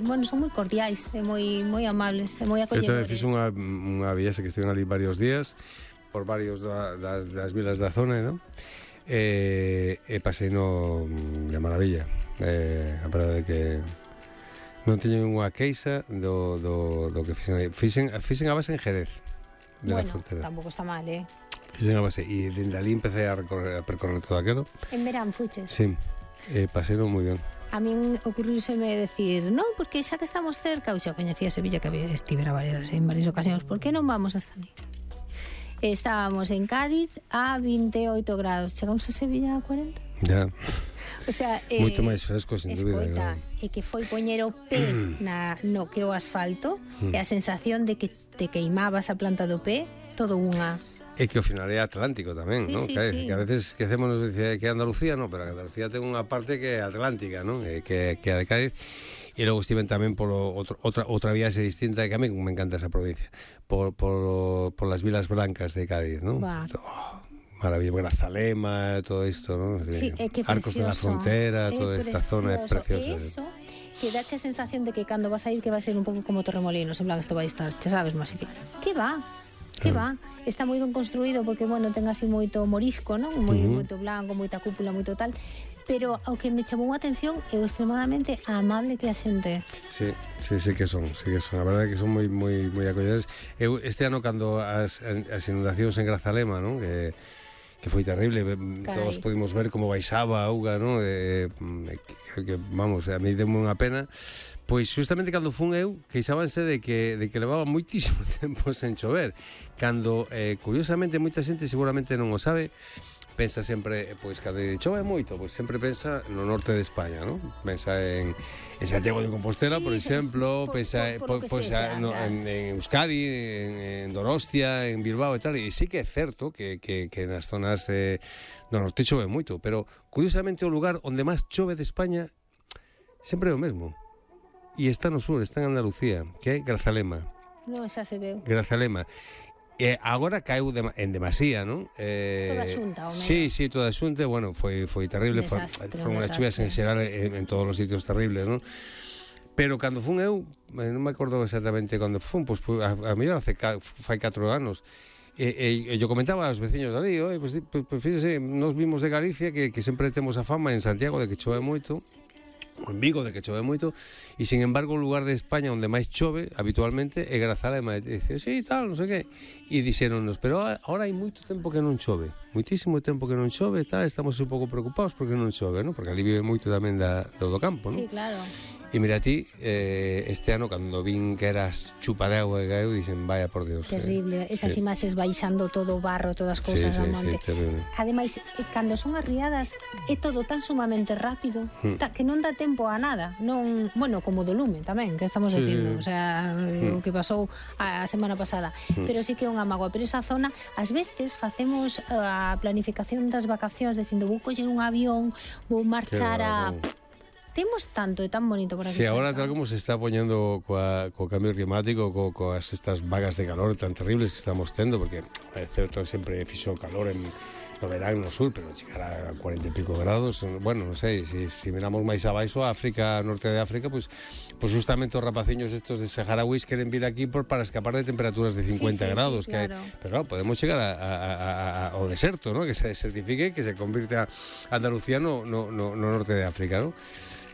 bueno, son moi cordiais e moi amables e moi Eu acolledores. tamén fiz unha viaxe que estiven ali varios días por varios das vilas da zona, non? E pasei no de maravilla. A verdade é que non teño unha queixa do que fixen aí. Fixen a base en Jerez de la frontera. Tampouco está mal, Fixen a base e dende ali empecé a percorrer todo aquilo. En verán fuches? Sí, pasei moi ben. A min ocurríseme decir, non, porque xa que estamos cerca, ou xa coñecía Sevilla, que estivera en varias ocasións, por que non vamos hasta ali? Estábamos en Cádiz a 28 grados, chegamos a Sevilla a 40. Ya. O sea, moito máis fresco, sin dúbida. Escoita, e que foi poñer o pé no que o asfalto, e a sensación de que te queimabas a planta do pé, todo unha... É que ao final é Atlántico tamén, non? Sí. Que a veces esquecémonos de que é Andalucía, non, pero Andalucía ten unha parte que é atlántica, non? Que é a de Cádiz. E logo estiven tamén polo outra viaxe distinta, que a mí me encanta esa provincia, por las Vilas Blancas de Cádiz, non? Maravilla, Grazalema, todo isto, non? Sí, é que Arcos de la Frontera, toda esta zona é preciosa. Eso que dache a sensación de que cando vas a ir que va a ser un pouco como Torremolinos, en plan, isto vai estar, xa sabes, masificado. Que va? Está moi ben construído porque, bueno, ten así moito morisco, non? Moito blanco, moita cúpula, moito tal, pero ao que me chamou a atención é o extremadamente amable que a xente. Sí que son. A verdade é que son moi acolledores. Eu este ano cando as inundacións en Grazalema, non? Que foi terrible, todos pudimos ver como baixaba a auga, non? Que vamos, a mí deu unha pena. Pois justamente cando fun eu, queixábanse de que levaba moitísimo tempo sen chover. Cando, curiosamente, moita xente seguramente non o sabe, pensa sempre, pois, cando chove moito, pois sempre pensa no norte de España, non? Pensa en Santiago de Compostela, por exemplo, pensa en Euskadi, en Donostia, en Bilbao e tal, e sí que é certo que nas zonas do norte chove moito, pero curiosamente o lugar onde máis chove de España sempre é o mesmo. E está no sur, está en Andalucía, que é Grazalema. Non, xa se veu. Grazalema. E agora caeu en demasía, non? Toda xunta, o medio. Sí, toda xunta, bueno, foi terrible, foi unha chuvia en xeral en todos os sitios terribles, non? Pero cando fun eu, non me acordo exactamente cando fun, pois a mellor fai 4 anos, e yo comentaba aos veciños ali, pois fíxese, nos vimos de Galicia que sempre temos a fama en Santiago de que chove moito, en Vigo de que chove moito, e sin embargo o lugar de España onde máis chove habitualmente é Grazalema. E dice, sí, tal, non sei que, e dixéronnos, pero agora hai moito tempo que non chove, moitísimo tempo que non chove, tal, estamos un pouco preocupados porque non chove, non? Porque ali vive moito tamén do campo, non? Sí, claro. E mira ti, este ano cando vin que eras chupa de agua e caeu, dixen, vaya por Dios. Terrible, esas imaxes baixando todo o barro, todas as cousas a monte. Sí, terrible. Ademais, cando son as riadas é todo tan sumamente rápido que non dá tempo a nada. Non, bueno, como do lume tamén, que estamos dicindo, o sea, o que pasou a semana pasada. Pero sí que é unha mágoa, pero esa zona, ás veces facemos a planificación das vacacións dicindo, vou coller un avión, vou marchar a... Temos tanto e tan bonito por aquí. Sí, agora tal como se está poñendo co cambio climático, coas estas vagas de calor tan terribles que estamos tendo, porque é certo, sempre fixo calor no verán no sur, pero chegar a 40 e pico grados, bueno, non sei, se miramos máis abaixo, África, norte de África, pues justamente os rapaciños estos de saharauis queren vir aquí para escapar de temperaturas de 50 grados, sí, claro. Pero claro, podemos chegar ao deserto, ¿no? Que se desertifique, que se convirte a Andalucía no norte de África, ¿no?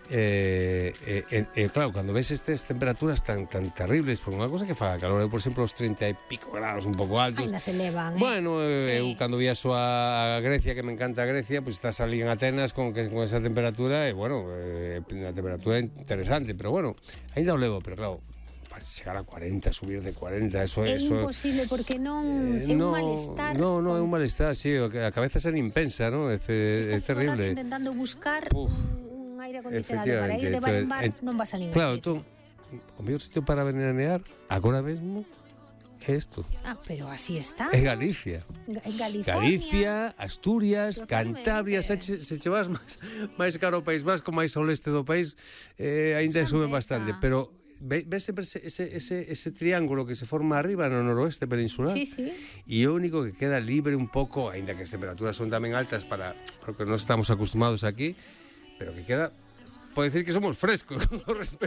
Claro, cando ves estas temperaturas tan terribles por unha cosa que faga calor, eu por exemplo os 30 e pico grados un pouco altos ainda se elevan, bueno, eu cando viaxo a Grecia, que me encanta Grecia, pues estás ali en Atenas con esa temperatura e bueno, unha temperatura interesante, pero bueno, ainda o levo, pero claro, chegar a 40, subir de 40, eso é imposible porque non é un malestar. No, é un malestar, sí, a cabeza se nin pensa, ¿no? É terrible. Estás intentando buscar un aire acondicionado para ir de bar en bar, non vas a ningún sitio. O mellor sitio para veranear agora mesmo é isto. Pero así está. É Galicia. Galicia, Asturias, Cantabria, se che vas máis caro o País Vasco, máis ao leste do país, ainda sube bastante, pero ves sempre ese triángulo que se forma arriba no noroeste peninsular. Sí. E o único que queda libre un pouco, aínda que as temperaturas son tamén altas para o que nos estamos acostumados aquí, pero que queda pode decir que somos frescos con respecto